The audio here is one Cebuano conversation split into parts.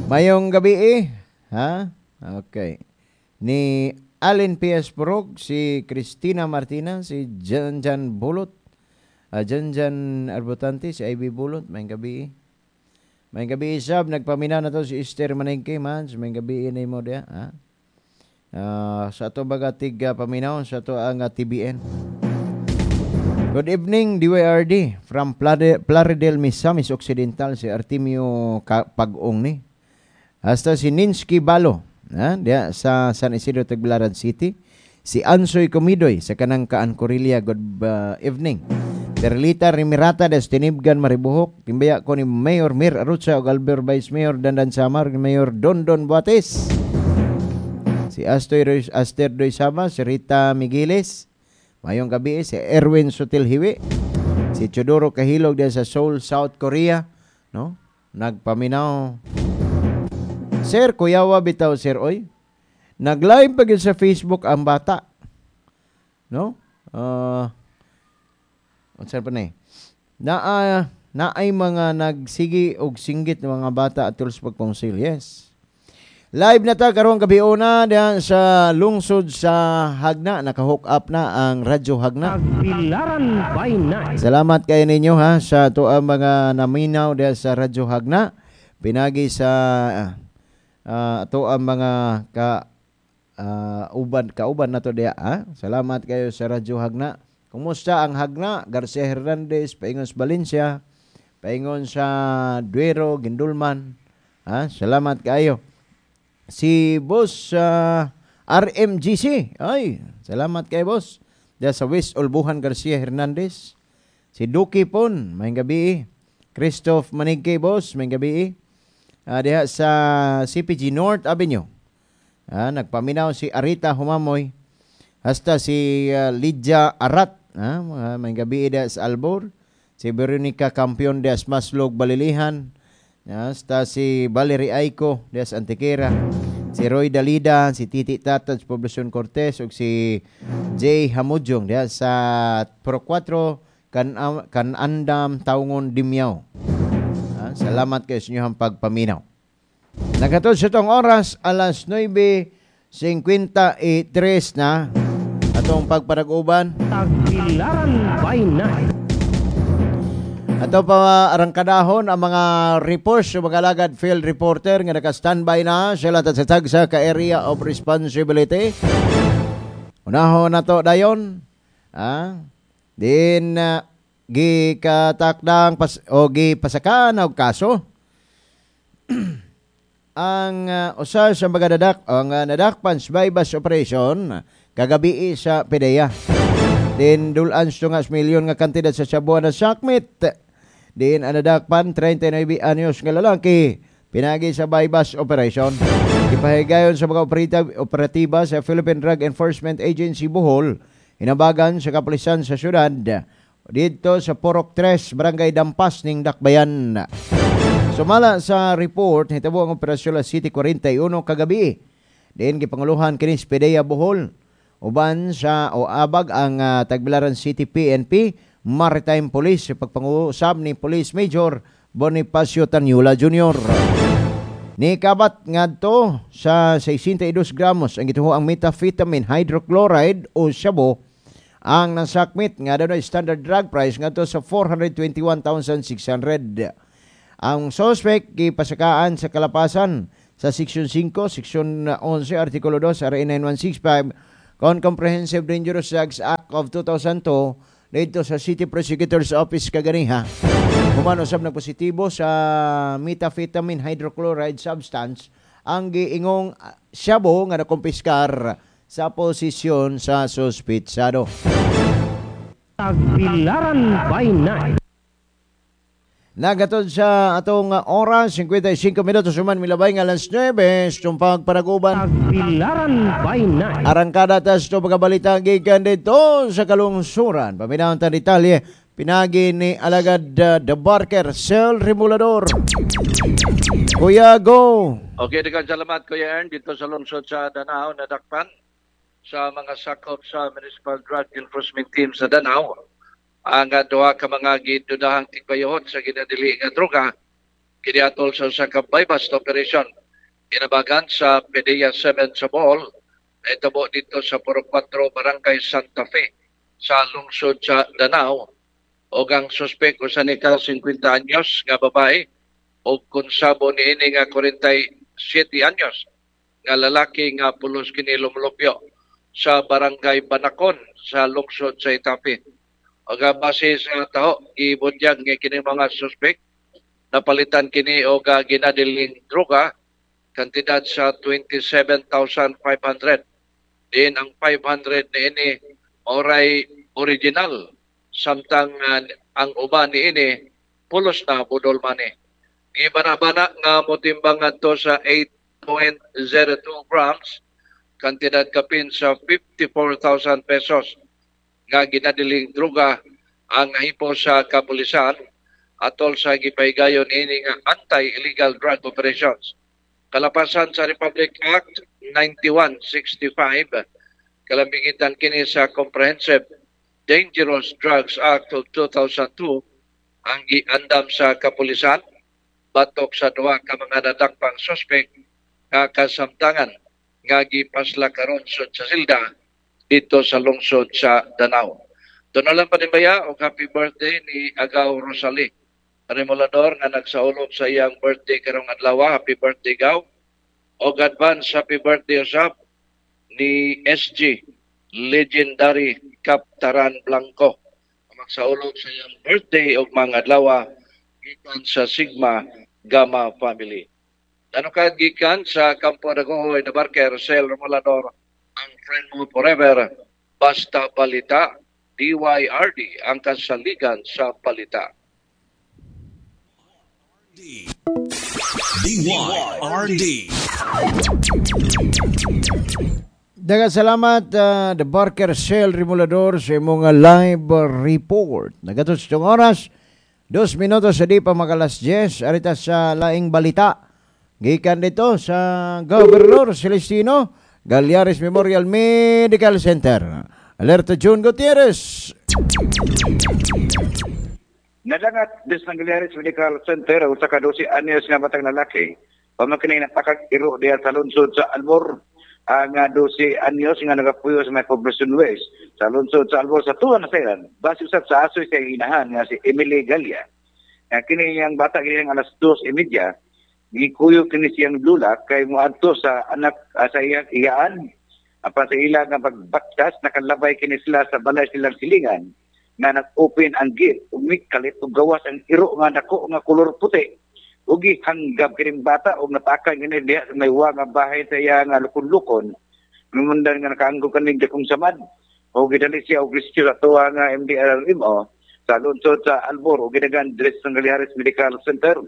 Mayong gabi eh. Ha? Okay. Ni Allen P.S. Purog, si Christina Martina, si Jan Jan Bulot, Jan Jan Arbutante, si Ivy Bulot, mayong gabi eh. Mayong gabi sab, nagpaminaw na to si Esther Manengke, man. Mayong gabi eh mo diya. Ha? Sa ato baga tig paminaw, sa ato ang TBN. Good evening, DYRD from Plaridel, Misamis Occidental, si Artemio Pag-ong ni. Hasta si Ninsky Balo, ha, diya sa San Isidro, Tagbilaran City. Si Ansoy Comidoy sa kanang Kaan Corilia, good evening. Perlita Rimirata des Tinibgan, Maribuhok. Timbaya ko ni Mayor Mir Arutsa ug Albert Vice Mayor Dandan Samar, Mayor Dondon Buates. Si Astoy Roy, Aster Doy Sama, si Rita Migueles. Mayong gabi si Erwin Sutilhiwi. Si Chodoro Kahilog diyan sa Seoul, South Korea, no? Nagpaminaw. Sir, kuyawa bitaw sir oy. Nag-live pa gyud sa Facebook ang bata. No? Unsa pa ni? Naa naay mga nagsigi og singgit ng mga bata atol sa pagpungsil. Yes. Live na ta karong gabi una diyan sa lungsod sa Jagna. Naka-hook up na ang Radyo Jagna. Tagbilaran by night. Salamat kayo ninyo ha sa ato ang mga naminaw diyan sa Radyo Jagna. Pinagi sa ato ang mga ka uban kauban nato diya ha. Salamat kayo sa Radyo Jagna. Kumusta ang Jagna? Garcia Hernandez, paingon sa Valencia, paingon sa Duero, Gindulman. Ha? Salamat kayo. Si Boss RMGC. Ay, salamat kay Boss. Diya sa West Olbuhan, Garcia Hernandez. Si Duki Pon, may gabi. Christoph Manigke, Boss, may gabi. Diha sa CPG North Avenue. Nagpaminaw si Arita Humamoy. Hasta si Lydia Arat. May gabi diha sa Albor. Si Veronica Campion diha sa Maslog, Balilihan. Hasta si Valerie Aiko diha sa Antequera. Si Roy Dalida, si Titi Tata sa Poblacion Cortes, ug si Jay Hamujong diha sa Pro 4 Kanandam, Taungon, Dimiao. Salamat kayo sa inyong pagpaminaw. Nakatod sa itong oras, alas 9:53 na atong pagparag-uban. Tagbilaran by night. Ato pa arangkadahon ang mga reports sa mga alagad field reporter nga naka-standby na sila sa tagsa ka area of responsibility. Unahon na to dayon. Din gikatakdang o gipasakan og kaso ang usa sa mga nadak ang nadakpan sa buy-bust operation kagabi sa PDEA. Din dulan sa milyon nga kantidad sa shabu na sakmit. Din ang nadakpan 39 anyos nga lalaki pinagi sa buy-bust operation. Ipahigayon sa mga operatiba sa Philippine Drug Enforcement Agency Bohol, hinabagan sa kapulisan sa syudad didto sa Purok 3, Barangay Dampas ning Dakbayan. Sumala sa report, hitabo ang operasyon sa City 41 kagabi. Diin gipanguluhan kini sa PDEA Bohol uban sa o abag ang Tagbilaran City PNP Maritime Police sa pagpangusab ni Police Major Bonifacio Tanyula Jr. Nikabat ngadto sa 62 gramos ang gituhoang methamphetamine hydrochloride o shabu ang nasakmit nga adunay standard drug price ngadto sa 421,600. Ang suspect gipasakaan sa kalapasan sa Section 5, Section 11, Artikulo 2, RA 9165 con Comprehensive Dangerous Drugs Act of 2002 dito sa City Prosecutor's Office kaganiha. Human usab nagpositibo sa methamphetamine hydrochloride substance ang giingong shabu nga nakumpiskar sa posisyon sa suspitsado. Tagbilaran by night. Nagatod sa atong oras, 55 minutos human milabay nga alas 9, sumpag panaguban. Tagbilaran by night. Arangkada tas ito pagkabalita gikan dito sa kalungsuran. Paminahon ta detalye, pinagi ni Alagad The Barker, Sel Remulador. Kuya, go! Okay, daghang salamat Kuya Ern dito sa lungsod sa Danao, nadakpan sa mga sakop sa Municipal Drug Enforcement Team sa Danao ang duha ka mga gidudahang tigbayot sa ginadili nga droga Kini atol sa usa ka buy-bust operation inabagan sa PDEA 7 sa Bohol nahitabo dito sa Purok 4, Barangay Santa Fe sa lungsod sa Danao. Og ang suspek usa ni ka 50 anyos nga babae og konsabo niini nga 47 anyos nga lalaki nga pulos kini lumulupyo sa Barangay Banakon sa lungsod sa Itape. Og base sa taho, gibutyag nga kini mga suspek napalitan kini og ginadiling droga kantidad sa 27,500. Din ang 500 niini oray original, samtang ang uban niini pulos na budol money. Gibana-bana nga motimbang ngadto sa 8.02 grams, kantidad kapin sa 54,000 pesos nga ginadiling droga ang nahipo sa kapulisan atol sa gipahigayon ini nga anti-illegal drug operations. Kalapasan sa Republic Act 9165, kalambigitan kini sa Comprehensive Dangerous Drugs Act of 2002, ang giandam sa kapulisan batok sa duha ka mga nadakpang suspek nga kasamtangan nga gipasla karon sud sa silda dito sa lungsod sa Danao. Tunalan pa baya og happy birthday ni Agaw Rosalie Remolador nga nagsaulog sa iyang birthday karong adlaw. Happy birthday, Gaw. Og advance happy birthday usab ni SG Legendary Kaptaran Blanco, magsaulog sa iyang birthday og mga adlaw gikan sa Sigma Gamma family. Tanukad gikan sa Kampo Dagohoy, Dabarker, Rosel Romulador, ang friend mo forever, Basta Balita, DYRD, ang kasaligan sa balita. DYRD. Daghang salamat, The Barker Shell Remolador, sa imong live report. Nagatos itong oras, 2 minutos sa di pa magalas 10, arita sa laing balita. Gikan dito sa Governor Celestino Gallares Memorial Medical Center. Alerta June Gutierrez. Nadangat des ng Gallares Medical Center ang usa ka 12 anyos nga batang lalaki. Pamakinay napakag iro diha sa lungsod sa Albor. Ang 12 anyos nga nagapuyo sa may Poblacion West sa lungsod sa Albor sa tuwa na sayran. Base usab sa asoy sa inahan nga si Emily Galia. Nga kini iyang bata kini ang alas 2:30 gikuyo kini siyang lula kay moadto sa anak sa iyang iyaan. Apan sa ila nga pagbaktas, nakalabay kini sila sa balay silang silingan nga nag-open ang gate, umikalit ug gawas ang iro nga dako nga kolor puti. Ugi hanggab kining bata ug natakan kini diha sa may nga bahay sa iya nga lukon-lukon. Numundan nga nakaanggol kaning dakong samad. O gidali siya og rescue sa tuwa nga MDRMO sa lungsod sa Albor ug gidagan diri sa Gallares Medical Center.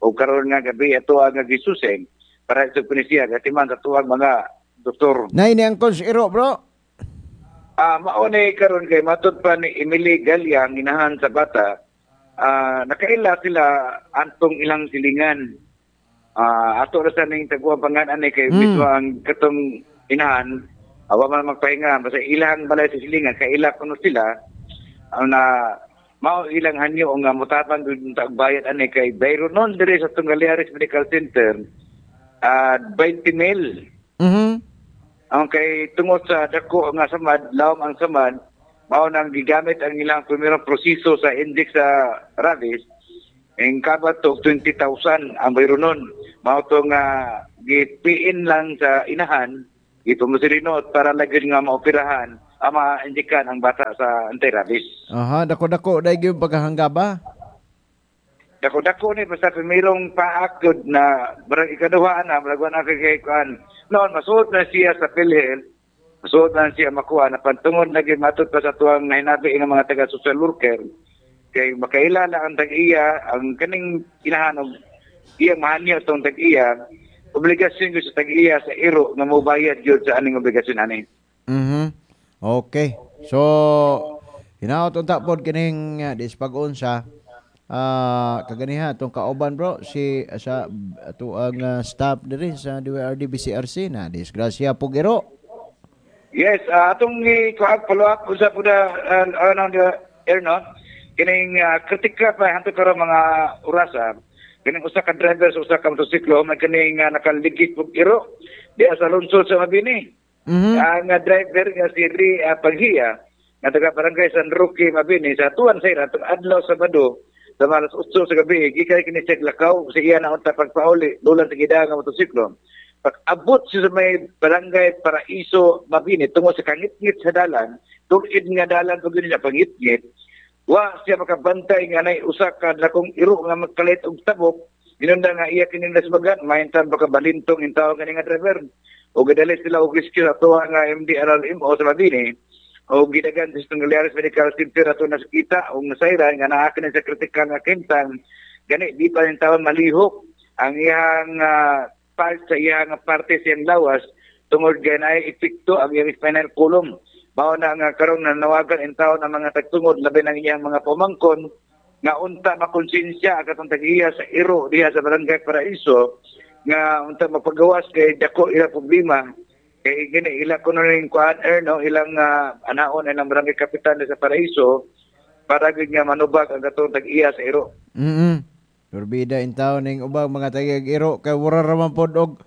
O karon nga gabi ato nga gisuseng para sa kini siya gatiman sa tuwang mga doktor. Nay ni ang iro, bro. Mao ni karon kay matud pa ni Emily Galia, ang inahan sa bata, nakaila sila antong ilang silingan. Ato ra sa ning taguang pangan ani kay mismo ang katong inahan awa man magpahinga basta ilang balay sa silingan kaila kuno sila ang na mao ilang hanyo nga motabang gud ta bayad ani kay bayro nun diri sa Gallares Medical Center 20 mil. Ang kay tungod sa dako nga samad, lawom ang samad, mao nang gigamit ang ilang primerong proseso sa index sa rabies, ang kabat og 20,000 ang bayro nun. Mao to nga gipiin lang sa inahan, gipumusirino para lagi nga maoperahan, ang ma-indikan ang bata sa anti-rabies. Aha, dako-dako dai gyud pagkahanggaba. Dako-dako ni basta primerong paak gud na barang ikaduha na barang na kay kuan. Noon masuot na siya sa PhilHealth, masuot na siya makuha na pantungod na matud pa sa tuwang nahinabi nga mga taga social worker kay makaila na ang tag-iya ang kaning inahan og iyang mahanyo tong tag-iya, obligasyon gyud sa tag-iya sa iro nga mobayad gyud sa aning obligasyon ani. Okay. So hinaot unta pod kining dispag-unsa kaganiha atong kauban, bro, si sa ato ang staff diri sa DYRD BCRC na disgrasya pug iro. Yes, atong i-kuha follow up usa pud ano air no kining kritika pa hanto karon mga orasa. Kining usa ka driver sa usa ka motorsiklo man kini nga nakaligit og iro diha sa lungsod sa Mabini. Ang driver nga si Ri Panghiya nga taga Barangay San Roque, Mabini, sa tuwan sa atong adlaw Sabado sa alas 8 sa gabi gikan kini siya lakaw sa iya na unta pagpauli dulan sa gida nga motorsiklo. Pag-abot siya sa may Barangay Paraiso, Mabini, tungod sa kangitngit sa dalan, tulid nga dalan pag yun niya pangitngit, wa siya makabantay nga nay usa ka dakong iro nga magkalit og tabok, ginunda nga iya kini nasbagan, mahintan baka balintong intaw kani nga driver. O gidali sila og rescue sa tuwa nga MDRRMO sa Mabini, o gidagan sa Galeares Medical Center ato nasakita o nasayran nga naa kini sa kritikal nga kintang, gani di pa intaw malihok ang iyang part sa iyang parte sa iyang lawas tungod kay naay epekto ang iyang spinal column. Mao na nga karon nanawagan intaw ang mga tagtungod labi ng iyang mga pamangkon nga unta makonsensya ang katong tag-iya sa iro diha sa Barangay Paraiso nga unta mapagawas kay dako ila problema kay gini ila kuno ning kuan no ilang anaon ilang barangay kapitan sa Paraiso para gyud nga manubag ang katong tag-iya sa iro. Turbida intaw ning ubang mga tag iro kay wala ra man pod og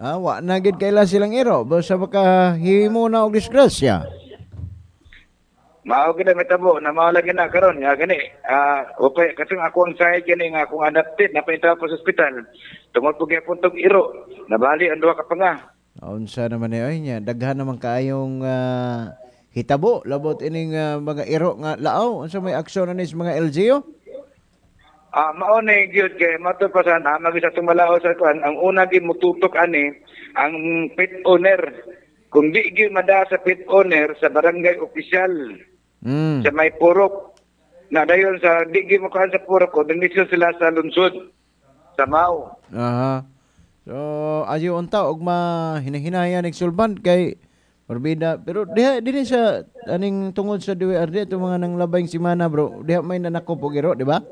wa na gid kaila silang iro basta baka himo na og disgrasya. Mao gid ang mitabo na mao lagi na karon nga gani upay katong ako ang side gani nga akong adapted na paintaw ko sa ospital tungod po gyapon tong iro nabali ang duha ka panga. Unsa naman ni oy nya daghan naman kaayong hitabo labot ining mga iro nga laaw. Unsa may aksyon ani sa mga LGU? Mao ni gyud kay mato pa sa amag sa tumalaw sa kuan ang una gyud motutok ani ang pet owner. Kung di gyud mada sa pet owner sa barangay opisyal sa may purok na dayon sa di gyud mokuan sa purok ko dingisyo sila sa lungsod sa Mao. Aha. So ayo unta og mahinahinayan ning sulban kay morbida pero diha dinhi sa aning tungod sa DWRD itong mga nanglabayng semana bro diha may nanakop og iro di ba?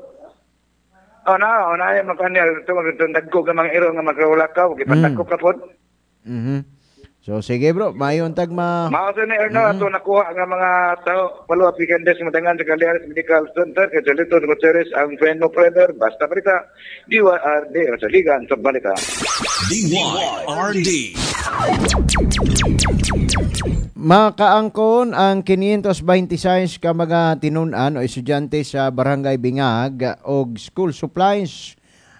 Oh na, oh na ay magkanya tungod itong dagko nga mga iro nga magrawlakaw gipandagko ka pod. So sige bro, mayon tag ma Mao sa ni Erno ato nakuha nga mga tao follow up weekend des madangan sa Galeares Medical Center kay Jolito Gutierrez ang friend mo forever basta balita DYRD sa Ligan sa Balita. DYRD. Makaangkon ang 526 ka mga tinun-an o estudyante sa Barangay Bingag og school supplies.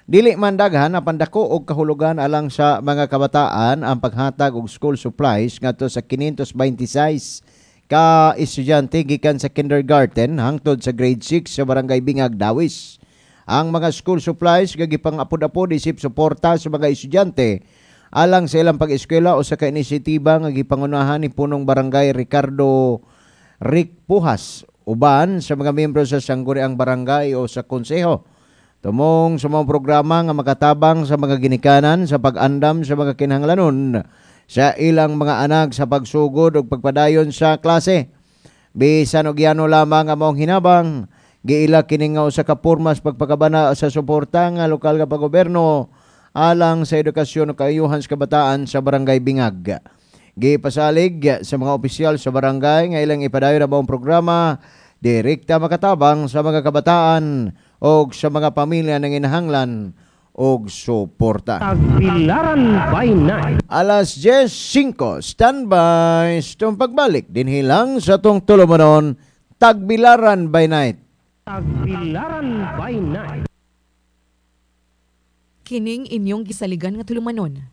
Dili man daghan apan dako og kahulugan alang sa mga kabataan ang paghatag og school supplies ngadto sa 526 ka estudyante gikan sa kindergarten hangtod sa grade 6 sa Barangay Bingag, Dawis. Ang mga school supplies gipang-apod-apod isip suporta sa mga estudyante alang sa ilang pag-eskwela o sa kainisyatiba nga gipangunahan ni punong barangay Ricardo Rick Pujas uban sa mga miyembro sa sangguniang barangay o sa konseho. Tumong sa mga programa nga makatabang sa mga ginikanan sa pag-andam sa mga kinahanglanon sa ilang mga anak sa pagsugod ug pagpadayon sa klase. Bisan og yano lamang ang maong hinabang, giila kini nga usa ka pormas pagpakabana sa suporta nga lokal nga paggobyerno alang sa edukasyon ug kaayuhan sa kabataan sa Barangay Bingag. Gipasalig sa mga opisyal sa barangay nga ilang ipadayon ang maong programa direkta makatabang sa mga kabataan og sa mga pamilya ng inahanglan og suporta. Tagbilaran by night. Alas 10:05, standby sa itong pagbalik. Dinhi lang sa itong tulumanon, Tagbilaran by night. Tagbilaran by night. Kining inyong gisaligan nga tulumanon.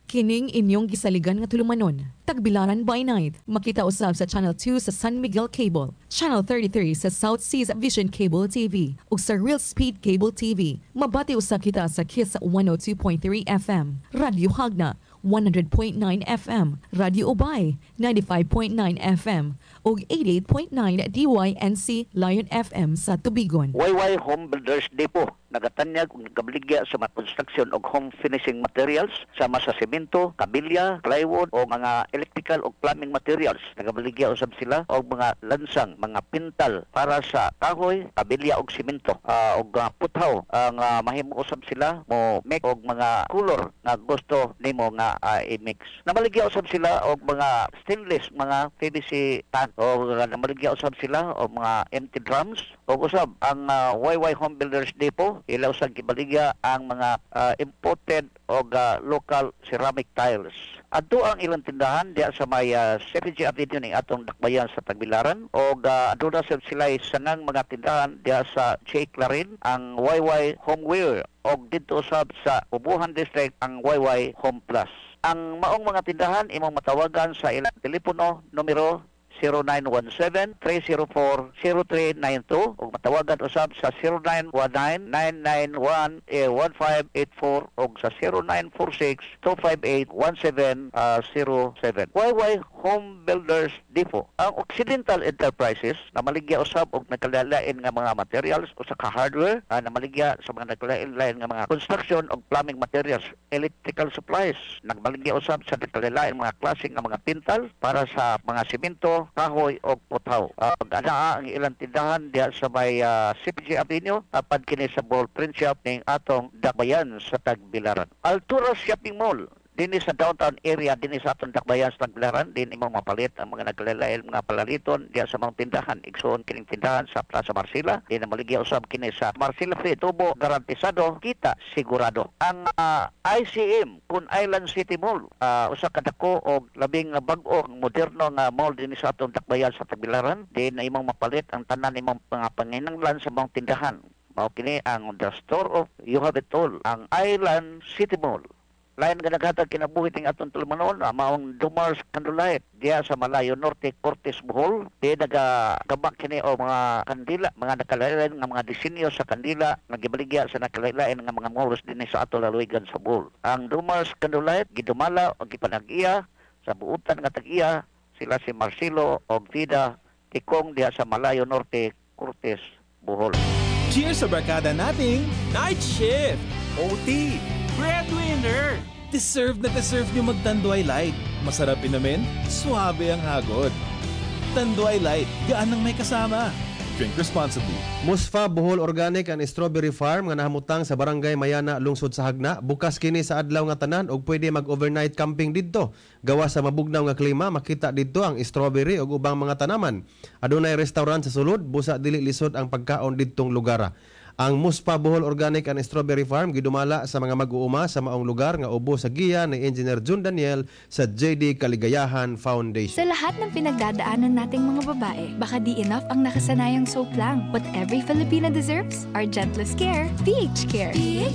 Kining inyong gisaligan nga tulumanon. Tagbilaran by night. Makita usab sa Channel 2 sa San Miguel Cable, Channel 33 sa South Seas Vision Cable TV ug sa Real Speed Cable TV. Mabati usab kita sa Kiss 102.3 FM, Radyo Hagna 100.9 FM, Radyo Ubay 95.9 FM ug 88.9 DYNC Lion FM sa Tubigon. YY Home Builders Depot nagatanyag og nagabaligya sa mga construction og home finishing materials sama sa semento, kabilya, plywood o mga electrical o plumbing materials. Nagabaligya usab sila og mga lansang, mga pintal para sa kahoy, kabilya og semento, og puthaw. Ang mahimo usab sila mo make og mga color nga gusto nimo nga i-mix. Namaligya usab sila og mga stainless, mga PVC tank, o namaligya usab sila og mga empty drums Ug usab ang YY Home Builders Depot, ila usab gibaligya ang mga imported og local ceramic tiles. Adto ang ilang tindahan diha sa may CPG Avenue ning atong dakbayan sa Tagbilaran og aduna sab sila sangang mga tindahan diha sa J. Clarin, ang YY Homeware, og didto usab sa Ubuhan District ang YY Home Plus. Ang maong mga tindahan imong matawagan sa ilang telepono numero 0917-304-0392 ug matawagan usab sa 0919-991-1584 ug sa 0946-258-1707. YY Home Builders Depot. Ang Occidental Enterprises namaligya usab og nagkalain nga mga materials usa ka hardware, namaligya sa mga nagkalain nga mga construction og plumbing materials, electrical supplies, nagmaligya usab sa nagkalain mga klase nga mga pintal para sa mga simento, kahoy o putaw. Anaa ang ilang tindahan diha sa may CPG Avenue, apad kini sa Bohol Print Shop ning atong dakbayan sa Tagbilaran. Altura Shopping Mall dinhi sa downtown area dinhi sa atong dakbayan sa Tagbilaran, din imong mapalit ang mga nagkalain mga palaliton diha sa mga tindahan. Igsoon kining tindahan sa Plaza Marcela, din maligya usab kini sa Marcela Free Tubo, garantisado, kita sigurado. Ang ICM kun Island City Mall, usa ka dako og labing bag-o moderno nga mall dinhi sa atong dakbayan sa Tagbilaran, din na imong mapalit ang tanan imong mga panginahanglan sa mga tindahan. Mao kini ang the store of you have it all, ang Island City Mall. Lain nga naghatag kinabuhi ting atong tulumanon, maong Dumars Candlelight diha sa Malayo Norte, Cortes, Bohol. Di nagagabak kini o mga kandila, mga nakalain nga mga disenyo sa kandila nga gibaligya sa nakalain nga mga malls dinhi sa ato lalawigan sa Bohol. Ang Dumars Candlelight gidumala og gipanag-iya sa buutan nga tag-iya sila si Marcelo og Vida Tikong diha sa Malayo Norte, Cortes, Bohol. Cheers sa barkada nating Night Shift, OT, Breadwinner! Deserve na deserve nyo mag-Tanduay Light. Masarap inumin, suabe ang hagod. Tanduay Light, gaan ng may kasama. Drink responsibly. Musfa Bohol Organic and Strawberry Farm nga nahamutang sa Barangay Mayana, lungsod sa Jagna, bukas kini sa adlaw nga tanan ug pwede mag-overnight camping didto. Gawa sa mabugnaw nga klima, makita didto ang strawberry ug ubang mga tanaman. Adunay restaurant sa sulod, busa dili lisod ang pagkaon didtong lugar. Ang Muspa Bohol Organic and Strawberry Farm gidumala sa mga mag-uuma sa maong lugar nga ubo sa giya ni Engineer Jun Daniel sa JD Kaligayahan Foundation. Sa lahat ng pinagdadaanan nating mga babae, baka di enough ang nakasanayang soap lang. What every Filipina deserves are gentlest care, PH Care. PH